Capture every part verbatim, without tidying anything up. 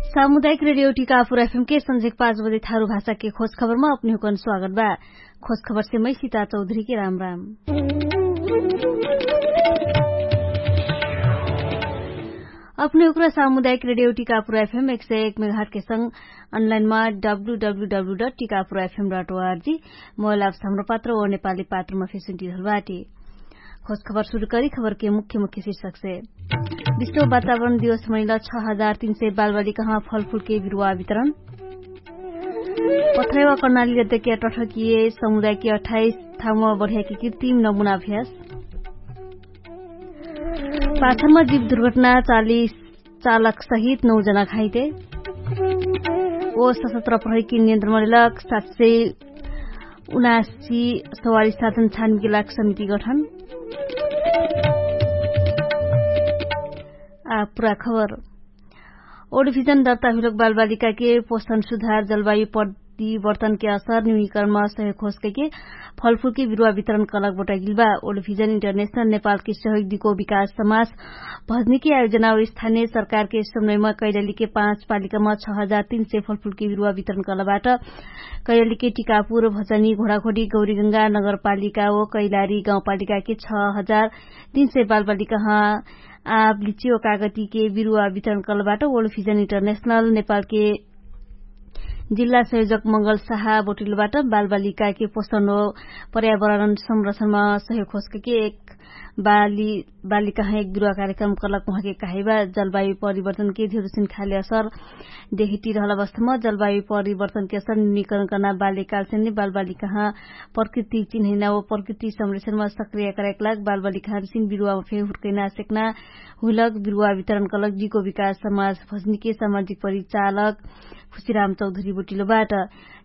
सामुदायिक रेडियो टिकापुर एफएम के संझेक पाँच बजे थारु भाषा के खोज खबरमा अपने हुकन स्वागत बा। खोज खबर से मै सीता चौधरी के राम राम। अपने हुकरा सामुदायिक रेडियो टिकापुर एफएम एक सय एक मेघाट के संग अनलाइनमा W W W dot Tikapur FM dot ORG mobile apps Hamro Patro ओ नेपाली पात्रमा फेसुन्टी रहल बाटी। खोज खबर सुरु करी खबर के मुख्य मुख्य शीर्षक से। विश्व वातावरण दिवस मनैला छ हजार तीन सय बालबालिकामा फलफुल के बिरुवा वितरण। पथरेवा कर्णाली अध्यक्ष टठकिए समुदायकी अठाइस थामा बढियाकी कृत्रिम नमुना अभ्यास। पाछामा जीव दुर्घटना चालिस चालक सहित नौ जना घाइते। ओ सशस्त्र प्रहरीकी नियन्त्रण मरेलक सात सय उनासी सवारी साधन छानके लाग समिति गठन। आ पुरा खबर। ओडभिजन दर्ता हुइलक बालबालिकाके पोषण सुधार जलवायु परिवर्तनके असर न्यूनीकरणमा सहयोग होसकैके फलफुलके बिरुवा वितरण कलक बोटाइगिल बा। ओडभिजन इन्टरनेशनल नेपालके सहयोग दिको विकास समाज भजनीके आयोजनाओ स्थानीय सरकारके समयमा कैलालीके पाँच पालिकामा छ हजार तीन सय फलफुलके बिरुवा वितरण कलबाट। कैलालीके टिकापुर भजनी घोडाघोडी गौरीगंगा नगरपालिका ओ कैलाली गाउँपालिकाके छ हजार तीन सय बालबालिकाह आब लिचियो कागतीके बिरुवा वितरण कलबाट ओडभिजन इन्टरनेशनल नेपालके जिल्ला संयोजक मंगल साहा बोटिलोबाट बालबालिकाके पोषण हो पर्यावरण संरक्षणमा सहयोग होसकैके एक बालिकाह एक बिरुवा कार्यक्रम कलक उहाँके कहाइबा। जलवायु परिवर्तनके धेरुसिन खाले असर देहिटी रहल अवस्थामा जलवायु परिवर्तनके असर निकरण कर्ना बाल्यकालसे नि बालबालिकाह प्रकृति चिन्हैना व प्रकृति संरक्षणमा सक्रिय करैक लाग बालबालिकाहरसिन बिरुवामा फे हुर्कैना सेक्ना हुइलक बिरुवा वितरण कलक जिको विकास समाज भजनीके सामाजिक परिचालक खुशीराम चौधरी बोटिलोबाट।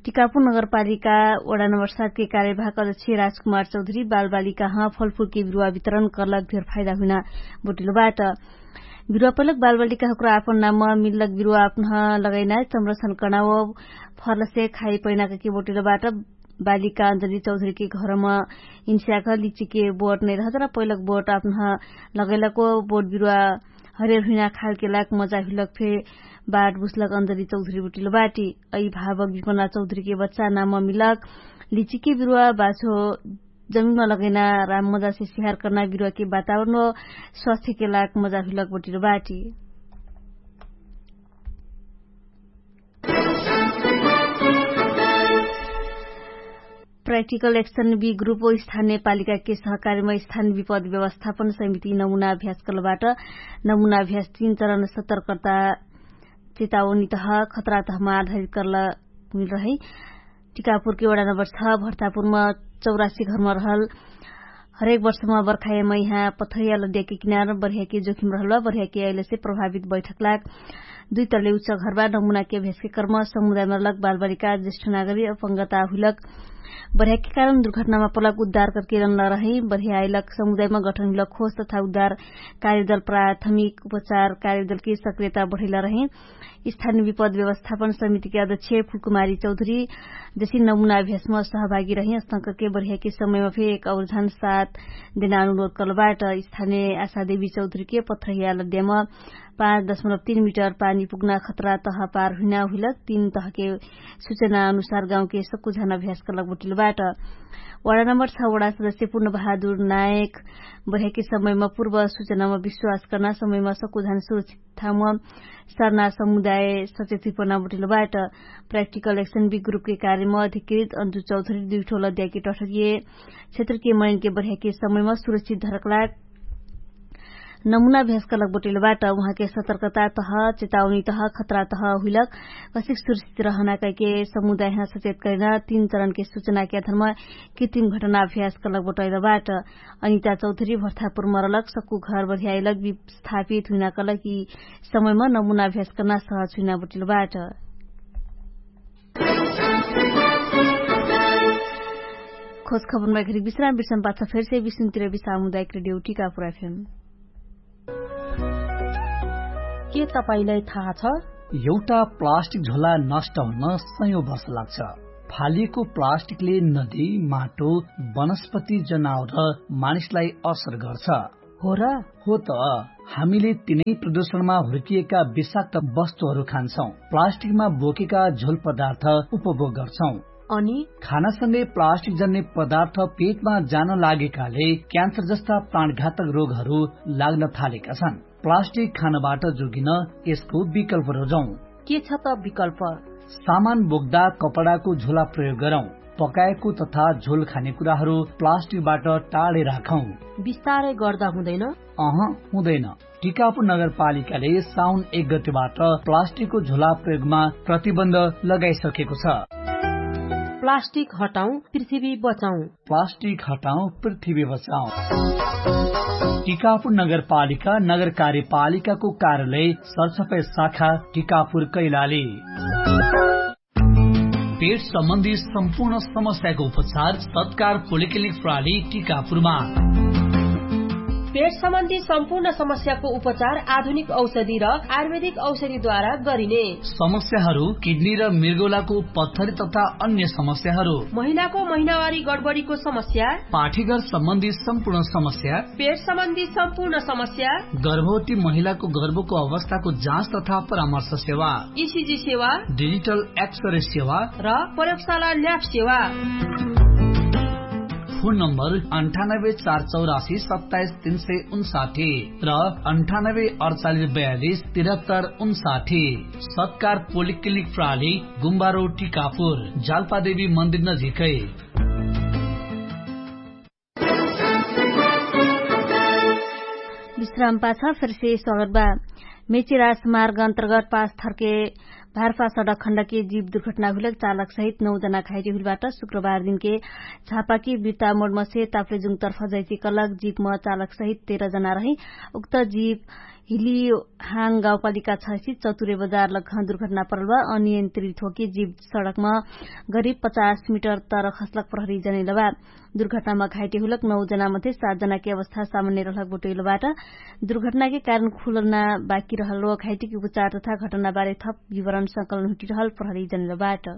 टिकापुर नगरपालिका वडा नम्बर सातके कार्यवाहक अध्यक्ष राजकुमार चौधरी बालबालिकाह फलफुलके बिरुवा वितरण कलक धेर फाइदा हुइना बोटिलोबाट। बिरुवा पैलक बालबालिकाहकुरा आपन नाम मिल्लक बिरुवा आपनह लगैना संरक्षण कर्ना व फलसे खाइ पैना कहिके बोटिलोबाट। बालिका अञ्जली चौधरीके घरमा इन्स्याक लिचिके बोट नैरहत र पैलक बोट आपनह लगैलक व बोट बिरुवा हरेर हुइना खालके लाग मजा हुइलक फे बाट बुझलक अञ्जली चौधरी बोटिलोबाटी। अइभावक बिपना चौधरीके बच्चा नाम मिलक लिचिके बिरुवा बाछो जमिनमा लगैना राम मजासे सिहार कर्ना बिरुवाके वातावरण व स्वास्थ्यके लाग मजा हुइलक बोटिलोबाटी। प्राक्टिकल एक्सन बी ग्रुप ओ स्थानीय पालिकाके सहकारीमा स्थानीय विपद व्यवस्थापन समिति नमुना अभ्यास कलबाट। नमुना अभ्यास तीन चरण सतर्कता चेतावनी तह खतरा तहमा आधारित कल हुइल रहै। टिकापुरके वडा नम्बर छ भर्तापुरमा चौरासी घरमा रहल हरेक वर्षमा बर्खायमा यहाँ पथरिया लद्याके किनार बर्ह्याके जोखिम रहल बा। बर्ह्याके अइलेसे प्रभावित बैठक लाग दुइ तले उच्च घरबा नमुनाके भेसके कर्म समुदायमा रहलक बालबालिका ज्येष्ठ नागरी अपंगता हुइलक बर्ह्याके कारण दुर्घटनामा पलक उद्धार करके रन्ना रहै। बर्ह्या अइलक समुदायमा गठन हुइलक खोज तथा उद्धार कार्यदल प्राथमिक उपचार कार्यदलके सक्रियता बढैला रहै। स्थानीय विपद व्यवस्थापन समितिके अध्यक्ष फुलकुमारी चौधरी जैसे नमुना अभ्यासमा सहभागी रही अस्तंकके बर्ह्याके समयमा फे एक अवधान साथ देना अनुरोध कलबाट। स्थानीय आशा देवी चौधरीके पथ्रहिया लद्यामा पाँच दशमलब तीन मिटर पानी पुग्ना खतरा तह पार हुइना हुइलक तीन तहके सुचना अनुसार गाउँके सक्कु झान अभ्यास कलक बोटिलबाट। वडा नम्बर छ वडा सदस्य पुर्ण बहादुर नायक बर्ह्याके समयमा पुर्व सुचनामा विश्वास कर्ना समयमा सक्कु झान सुरक्षित ठाउँमा सरना समुदाय सचेत हुइपना बोटिलबाट। प्राक्टिकल एक्सन बी ग्रुपके कार्यमा अधिकृत अन्जु चौधरी दुइठो लद्याके टठरिए क्षेत्रके मनिनके बर्ह्याके समयमा सुरक्षित धरकलाग नमुना भ्यासकलक बोटिलबाट उहाँके सतर्कता तह चेतावनी तह खतरा तह हुइलक कसिक सुरक्षित रहना कैके समुदायहाँ सचेत करिना तीन चरणके सुचनाके अधर्म कितिम घटना भ्यासकलक बोटैलबाट। अनिता चौधरी भर्तापुर मरलक सक्कु घर बढियाइलक विस्थापित हुइना कलक यि समयमा नमुना भ्यासकना सहज हुइना बोटिलबाट। खोज खबरमा घरी विश्राम बिर्सम पाछ फेरसे विष्णुतिर विश्राम हुँदा एक रेडियो टिका पुराइफेम। के तपाईंलाई थाहा छ? एउटा प्लास्टिक झोला नष्ट हुन सयौं वर्ष लाग्छ। फालिएको प्लास्टिकले नदी, माटो, वनस्पति, जनावर र मानिसलाई असर गर्छ। हो र? हो त, हामीले तिनै प्रदूषणमा हुर्किएका विषाक्त वस्तुहरू खान्छौँ, प्लास्टिकमा बोकेका झोल पदार्थ उपभोग गर्छौँ। अनि खानासँगै प्लास्टिक जन्ने पदार्थ पेटमा जान लागेकाले क्यान्सर जस्ता प्राणघातक रोगहरू लाग्न थालेका छन्। प्लास्टिक खानबाट जोगिन यसको विकल्प रोजौँ। के छ त विकल्प? सामान बोक्दा कपडाको झोला प्रयोग गरौँ। पकाएको तथा झोल खाने कुराहरू प्लास्टिकबाट टाढै राखौँ। बिस्तारै गर्दा हुँदैन? अह, हुँदैन। टिकापुर नगरपालिकाले साउन एक गतिबाट प्लास्टिकको झोला प्रयोगमा प्रतिबन्ध लगाइसकेको छ। प्लास्टिक हटाउँ, पृथ्वी बचाउँ। प्लास्टिक हटाउँ, पृथ्वी बचाउँ। टिकापुर नगरपालिका नगर कार्यपालिकाको कार्यालय सरसफाइ शाखा टिकापुर कैलाली। पेट सम्बन्धी सम्पूर्ण समस्याको उपचार सत्कार पोलिक्लिनिक प्रणाली टिकापुरमा। पेट सम्बन्धी सम्पूर्ण समस्याको उपचार आधुनिक औषधि र आयुर्वेदिक औषधिद्वारा गरिने। समस्याहरू किडनी र मृगौलाको पत्थरी तथा अन्य समस्याहरू। महिलाको महिनावारी गडबडीको समस्या। पाठीघर सम्बन्धी सम्पूर्ण समस्या। पेट सम्बन्धी सम्पूर्ण समस्या। गर्भवती महिलाको गर्भको अवस्थाको जाँच तथा परामर्श सेवा। इसिजी सेवा। डिजिटल एक्सरे सेवा। र प्रयोगशाला ल्याब सेवा। फोन नम्बर अन्ठानब्बे चार चौरासी सत्ताइस तीन सय उन्साठी र अन्ठानब्बे अडचालिस बयालिस तिरहत्तर उन्साठी। सत्कार पोलिक्लिनिक प्रणाली, गुम्बारो टिकापुर, जालपादेवी मन्दिर नजिकै। विश्राम पाछ फेरसे स्वागत बा। मेची राजमार्ग अन्तर्गत पाँच थरके भारफा सडक खण्डके जीव दुर्घटना हुइलक चालक सहित नौ जना घाइटी हुइलबाट शुक्रबार दिनके झापाकी बिर्ता मोडमसे ताप्लेजुङ तर्फ जैती कलक जीवम चालक सहित तेह्र जना रही। उक्त जीव हिली हाङ गाउँपालिका छसी चतुरे बजार लग्घ दुर्घटना परल बा। अनियन्त्रित होके जीव सडकम गरिब पचास मिटर तर खस्लक प्रहरी जनैल बा। दुर्घटनामा घाइटी हुलक नौ जनामध्ये सात जनाके अवस्था सामान्य रहलक बटोइल बाट। दुर्घटनाके कारण खुलना बाकी रहल व घाइटीके उपचार तथा घटनाबारे थप विवरण संकलन हुटिरहल प्रहरी जनैल बाट।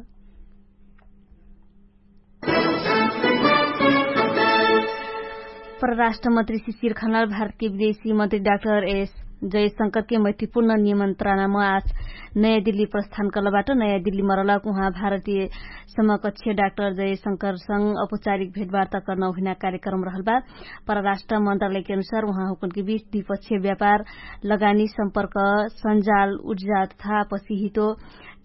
परराष्ट्रमन्त्री शिशिर खनाल भारतके विदेशी मन्त्री डाक्टर एस जयशंकरके मैत्रीपूर्ण निमन्त्रणामा आज नयाँ दिल्ली प्रस्थान कलबाट। नयाँ दिल्ली मरलक उहाँ भारतीय समकक्ष डाक्टर जयशंकरसँग औपचारिक भेटवार्ता कर्न हुइना कार्यक्रम रहल बा। परराष्ट्र मन्त्रालयके अनुसार उहाँ हुकनके बीच द्विपक्षीय व्यापार, लगानी सम्पर्क, सञ्जाल उर्जा तथा पसिहितो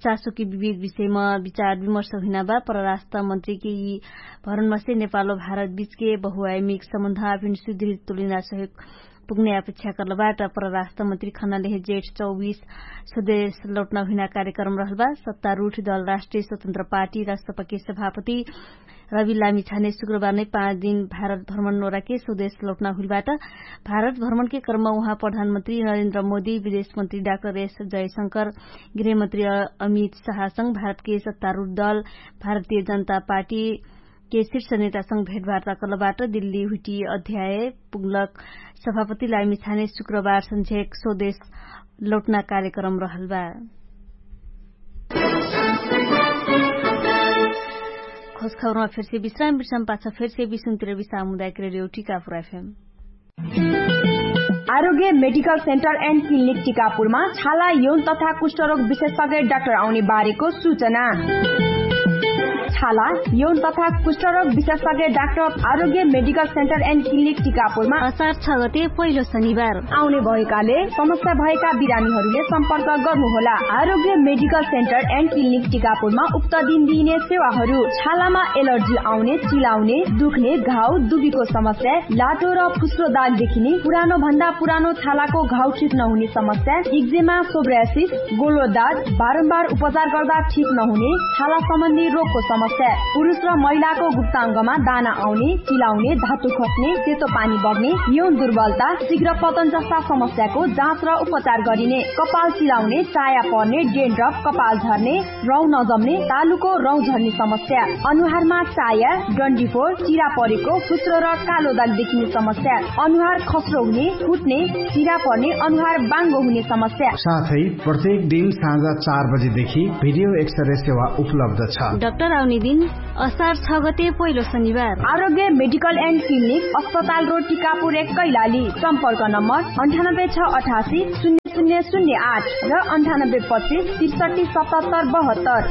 चासोकी विविध विषयमा विचार विमर्श हुइना बा। परराष्ट्र मन्त्रीके यि भरणमसे नेपालो भारत बीचके बहुआयमिक सम्बन्ध आफिन सुदृढ तुलिना सहयोग पुग्ने अपेक्षा कर्लबाट। परराष्ट्र मन्त्री खनालेहे जेठ चौबीस स्वदेश लौटना हुइना कार्यक्रम रहलबा। सत्तारूठ दल राष्ट्रिय स्वतन्त्र पार्टी राष्ट्रपकी सभापति रवि लामी छाने शुक्रबार नै पाँच दिन भारत भ्रमण नोराके स्वदेश लौटना हुइलबाट। भारत भ्रमणके कर्म उहाँ प्रधानमन्त्री नरेन्द्र मोदी विदेशमन्त्री डाक्टर एस जयशंकर गृहमन्त्री अमित शाहसँग भारतके सत्तारूढ दल भारतीय जनता पार्टीके शीर्ष नेतासँग भेटवार्ता कर्लबाट। दिल्ली हुइटी अध्याय पुग्लक सभापति लामी छाने शुक्रबार संझेक स्वदेश लौटना कार्यक्रम रहलबा। खोजखबरमा फेरसे विश्राम विश्राम पाछ फेरसे विश्राम तिर विश्राम हुँदाके रेडियो टिकापुर एफएम। आरोग्य मेडिकल सेन्टर एन्ड क्लिनिक टिकापुरमा छाला यौन तथा कुष्ठरोग विशेषज्ञ डाक्टर आउने बारेको सूचना। छाला यौन तथा कुष्ठरोग विशेषज्ञ डाक्टर आरोग्य मेडिकल सेन्टर एन्ड क्लिनिक टिकापुरमा असार छ गते पहिलो शनिबार आउने भएकाले समस्या भएका बिरामीहरूले सम्पर्क गर्नुहोला। आरोग्य मेडिकल सेन्टर एन्ड क्लिनिक टिकापुरमा उक्त दिन दिइने सेवाहरू छालामा एलर्जी आउने, चिलाउने, दुख्ने, घाउ दुबीको समस्या, लाटो र फुस्रो दाग देखिने, पुरानो भन्दा पुरानो छालाको घाउ ठिक नहुने समस्या, इक्जेमा, सोब्रासिस, गोलो दाग, बारम्बार उपचार गर्दा ठिक नहुने छाला सम्बन्धी रोगको समस्या, पुरुष र महिलाको गुप्ताङ्गमा दाना आउने, चिलाउने, धातु खस्ने, सेतो पानी बग्ने, यौन दुर्बलता, शीघ्र पतन जस्ता समस्याको जाँच र उपचार गरिने, कपाल चिलाउने, चाया पर्ने, डेन्ड्रप, कपाल झर्ने, रौँ नजम्ने, तालुको रौँ झर्ने समस्या, अनुहारमा चाया, डन्डीफोर, चिरा परेको, फुस्रो र कालो दाग देखिने समस्या, अनुहार खस्रो हुने, फुट्ने, चिरा पर्ने, अनुहार बाङ्गो हुने समस्या। साथै प्रत्येक दिन साँझ चार बजेदेखि भिडियो एक्सरे सेवा उपलब्ध छ। डाक्टर दिन असार छ गते पहिलो शनिबार। आरोग्य मेडिकल एन्ड क्लिनिक अस्पताल रोड टिकापुर एक कैलाली। सम्पर्क नम्बर अन्ठानब्बे छ अठासी शून्य शून्य शून्य आठ र अन्ठानब्बे पच्चिस त्रिसठी सतहत्तर बहत्तर।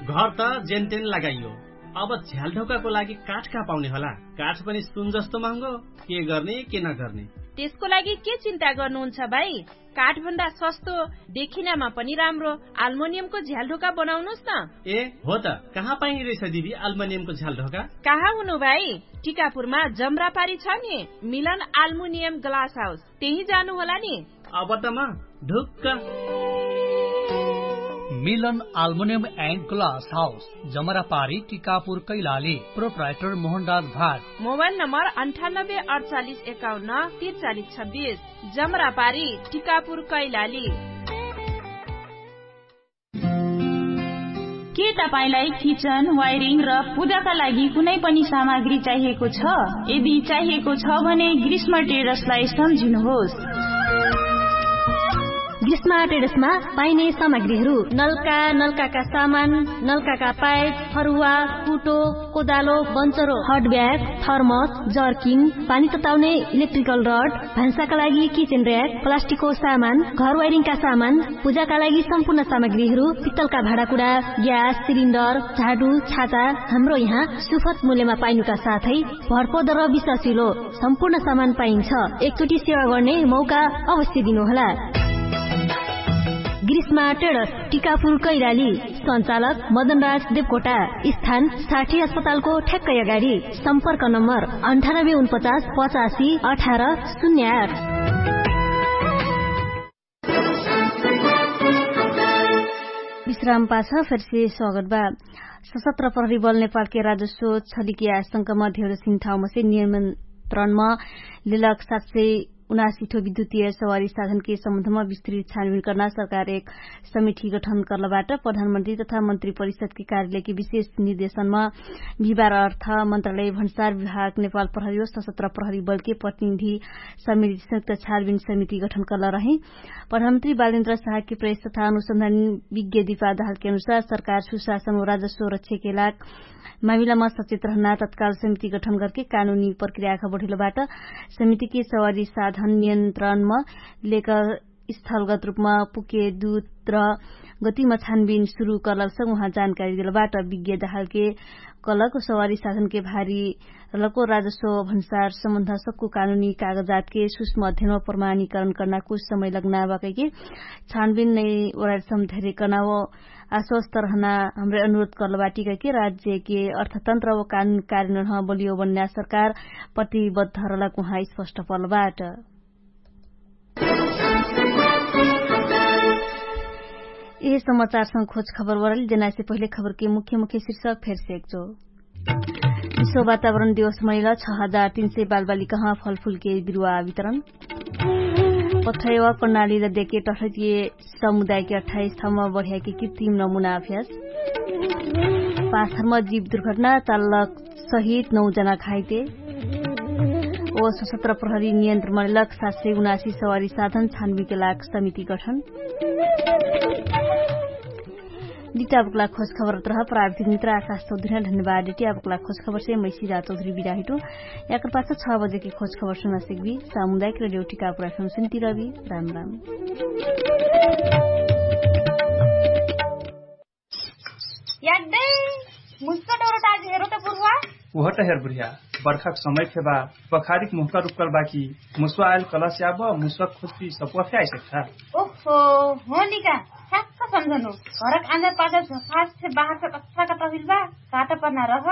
घर त जेनतेन लगाइयो, अब झ्यालढोकाको लागि काठ कहाँ पाउने होला? काठ पनि सुन जस्तो महँगो। के गर्ने के नगर्ने? त्यसको लागि के चिन्ता गर्नुहुन्छ भाइ? काठभन्दा सस्तो देखिनमा पनि राम्रो आल्मोनियमको झ्यालढोका बनाउनुस् न। ए हो त, कहाँ पाइने रहेछ दिदी आल्मोनियमको झ्यालढोका? कहाँ हुनु भाइ? टिकापुरमा जमरापारी छ नि, मिलन आल्मुनियम ग्लास हाउस, त्यही जानु होला नि। अब त म ढुक्क। मिलन आल्मुनियम एन्ड ग्लास हाउस, जमरापारी, टिकापुर, कैलाली। प्रोप्राइटर मोहनराज भाट। मोबाइल नम्बर अन्ठानब्बे अडचालिस एकाउन्न त्रिचालिस छब्बिस। जमरापारी, टिकापुर, कैलाली। के तपाईंलाई किचन, वायरिङ र पूजाका लागि कुनै पनि सामग्री चाहिएको छ? यदि चाहिएको छ भने ग्रीष्म ट्रेडर्सलाई सम्झिनुहोस्। ग्रीष्म ट्रेडर्समा पाइने सामग्रीहरू: नलका, नलकाका सामान, नलकाका पाइप, फरुवा, कुटो, कोदालो, बन्चरो, हट ब्याग, थर्मस, जर्किन, पानी तताउने इलेक्ट्रिकल रड, भान्साका लागि किचन र्‍याक, प्लास्टिकको सामान, घर वायरिङका सामान, पूजाका लागि सम्पूर्ण सामग्रीहरू, पित्तलका भाँडाकुडा, ग्यास सिलिन्डर, झाडु, छाता, हाम्रो यहाँ सुपथ मूल्यमा पाइनुका साथै भरपर्दो र विश्वासिलो सम्पूर्ण सामान पाइन्छ। एकचोटि सेवा गर्ने मौका अवश्य दिनुहोला। ग्रीष्मा ट्रेडर्स, टिकापुर, कैलाली। सञ्चालक मदनराज देवकोटा। स्थान साठी अस्पतालको ठ्याक्कै अगाडि। सम्पर्क नम्बर अन्ठानब्बे उनपचास पचासी अठार शून्य आठ। विश्राम पाछ फेरसे स्वागत बा। सशस्त्र प्रहरी बल नेपालके राजस्व छलिके आशंकामा धेरसिन ठाउँमा से नियन्त्रणमा लेलक सात सय उनासी ठो विद्युतीय सवारी साधनके सम्बन्धमा विस्तृत छानबिन कर्ना सरकार एक समिति गठन कर्लबाट प्रधानमन्त्री तथा मन्त्री परिषदके कार्यालयके विशेष निर्देशनमा बिहिबार अर्थ मन्त्रालय भन्सार विभाग नेपाल प्रहरी व सशस्त्र प्रहरी बलके प्रतिनिधि समिति संयुक्त छानबिन समिति गठन कर्ल रहे। प्रधानमन्त्री बालेन्द्र शाहके प्रेस तथा अनुसन्धान विज्ञ दिपा दाहालके अनुसार सरकार सुशासन व राजस्व रक्षाके लाग मामिलामा सचेत रहना तत्काल समिति गठन गर्के कानुनी प्रक्रियाका बढेलोबाट समितिके सवारी साधन नियन्त्रणमा लेकर स्थलगत रूपमा पुके दूत र गतिमा छानबिन सुरु कर्लक संग उहाँ जानकारी देलबाट विज्ञ दाहालके कलक सवारी साधनके भारी लको राजस्व भन्सार सम्बन्ध सक्कु कानुनी कागजातके सुष्म अध्ययन व प्रमाणीकरण कर्ना कुछ समय लग्ना बाकैके छानबिन नै ओराइसम धेरे कर्ना व आश्वस्त रहना हमरे अनुरोध कर्लबाटी कहिके राज्यके अर्थतन्त्र व कानुन कार्यनह बलियो बन्ना सरकार प्रतिबद्ध रहलक उहाँ स्पष्ट पर्लबाट। यही समाचारसँग खोज खबर वरल जेनासे पहिले खबरके मुख्य मुख्य शीर्षक फेरसे एकचो। विश्व वातावरण दिवस मैल छ हजार तीन सय बालबालिकाह फलफुलके बिरुवा वितरण। पठैवा कर्णाली र देके टठैतिय समुदायके अठाइस ठाउँमा बढ्याके कृत्रिम नमुना अभ्यास। पाँच धर्म जीव दुर्घटना चालक सहित नौ जना घाइते। ओ सशस्त्र प्रहरी नियन्त्रण मलेलक सात सय उनासी सवारी साधन छानबिके लाग समिति गठन। दिटाबुकला खोज खबर तरह प्राविधिक मित्र आकाश चौधरी धन्यवाद। दिटाबुकला खोज खबर से मैसी रात चौधरी बिराहिटो। याकर पास छ बजे के खोज खबर सुना सिकबी सामुदायिक रेडियो टिकापुरा फेम सुनती रहबी। राम राम। यादै मुस्का डोरो टाजी हेरो त बुरुवा। उहट हेर बुरिया। बर्खाक समय फेबा बखारिक मुहका रुक्कल बाकी मुस्वा आयल कलस याब मुस्वा खुशी सपुवा फे आइसक्ठा। ओहो। हो निका। ठ्याक्क सम्झनु। घरक आन्जा पाजा झफास फे बाहर फे कत्ता कत्ता हुइल बा। काटा पर्ना रह।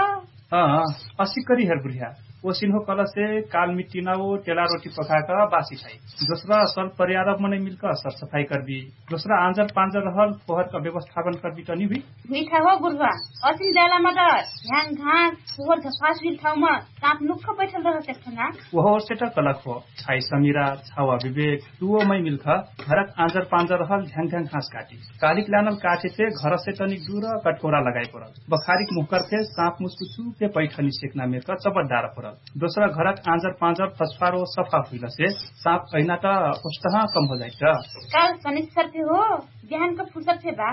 अँ। असिक करी हेर बुरिया। ओसिन हो कलसे काल मिट्टिना ओ टेला रोटी पकाक बासी खाइ। दोस्रा सल परियारब मनै मिल्क सरसफाइ कर्बी। दोस्रा आन्जर पान्जर रहल फोहरक व्यवस्थापन कर्बी तनी हुइ। हुइठा हो बुरुवा। असिन जालामा त ह्याङ घाँस फोहर झफास हुइल ठाउँमा साँप नुक्ख बैठल रह सेक्ठना। ओहो ओर्सेट कलक हो। छाइ समिरा छावा विवेक तुवो मै मिल्ख घरक आन्जर पान्जर रहल ह्याङ ह्याङ घाँस काटी। कालिक लानल काठे फे घरसे तनिक दुर कटकोरा लगाइ परल। बखारिक मुहकर फे साँप मुस्कुछु फे पैठनी सेक्ना मेक चबत डार परल। दोसरा घरक आँजर पाँजर फसफारो सफा हुइलसे साँप अहिना त ओष्टह कम हो जाइट। काल सनिश्चर फे हो, बिहानक फुर्सद फे बा।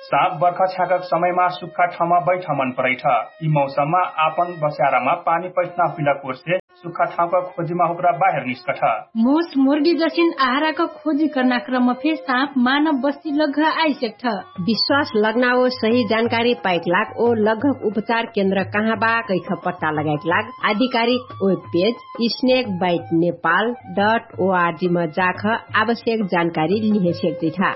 साँप बर्खा छ्याकक समयमा सुक्खा ठाउँमा बैठ मन परैठ। यि मौसममा आपन बस्यारामा पानी पैठना हुइला कोर्से सुक्खा ठाउँका खोजिमा हुक्रा बाहेर निस्कठ। मुस मुर्गी जसिन आहाराक खोजी कर्नाक्रम फे साँप मानव बस्ती लग्घ आइसेक्ठ। विश्वास लग्ना ओ सही जानकारी पाइक लाग ओ लग्घक उपचार केन्द्र कहाँ बा कैख पट्टा लगाइक लाग आधिकारिक web page snake byte Nepal dot ORG म जाख आवश्यक जानकारी लिहे सेक्दैठा।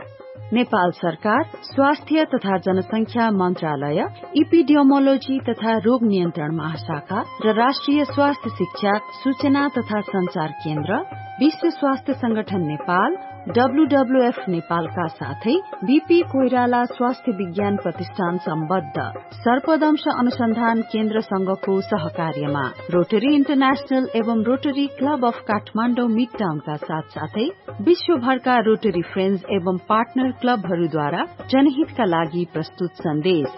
नेपाल सरकार स्वास्थ्य तथा जनसंख्या मन्त्रालय, इपिडियोमोलोजी तथा रोग नियन्त्रण महाशाखा र राष्ट्रिय स्वास्थ्य शिक्षा सूचना तथा सञ्चार केन्द्र, विश्व स्वास्थ्य संगठन नेपाल, डब्ल्युडब्ल्युएफ नेपालका साथै बिपी कोइराला स्वास्थ्य विज्ञान प्रतिष्ठान सम्बद्ध सर्पदंश अनुसन्धान केन्द्रसँगको सहकार्यमा रोटरी इन्टरनेशनल एवं रोटरी क्लब अफ काठमाडौँ मिडटाउनका साथसाथै विश्वभरका रोटरी फ्रेन्ड्स एवं पार्टनर क्लबहरूद्वारा जनहितका लागि प्रस्तुत सन्देश।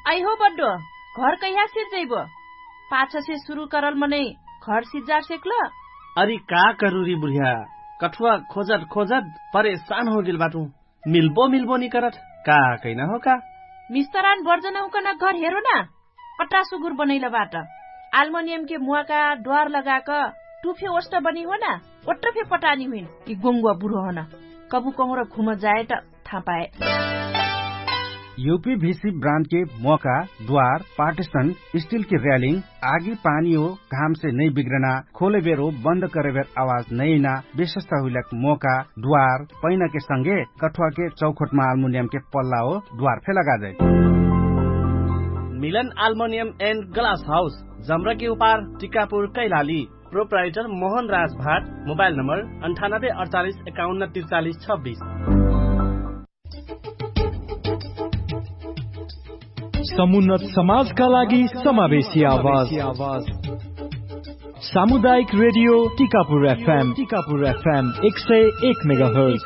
अइहो बड्डो, घर कैहा सिज्जैबो? पाछसे सुरु करल मनै घर सिज्जार सेक्ल? अरि का करुरी बुढिया, कठुवा खोजत खोजत परेशान होगेल बाटु। मिल्बो मिल्बो निकरत का कैना हो का? मिस्तरान बर्जन हुकन घर हेरो ना। पट्टा सुगुर बनैल बाट। आल्मोनियमके मुवाका द्वार लगाक टुफे ओष्ट बनी हो ना। ओट्ट फे पटानी हुइन कि गोङ्गुवा बुढो हन। कबु कहुँर घुम जाए त थापाए। युपी भिसी ब्रान्डके मोका द्वार पार्टिसन स्टिलके र्यालिङ आगी पानी हो घामसे नै बिग्रना खोलेबेर हो बन्द करेबेर आवाज नैना विशेषता हुइलक मोका द्वार पैनाके संगे कठुवाके चौखोटमा आल्मुनियमके पल्ला हो द्वार फे लगाजै। मिलन आल्मुनियम एन्ड ग्लास हाउस जम्रके उपार टिकापुर कैलाली। प्रोप्राइटर मोहन राज भाट। मोबाइल नम्बर अन्ठानब्बे अडचालिस एकाउन्न तिर्चालिस छब्बिस। समुन्नत समाजका लागि समावेशी आवाज। सामुदायिक रेडियो टिकापुर एफएम टिकापुर एफएम एक सय एक मेगाहर्ज।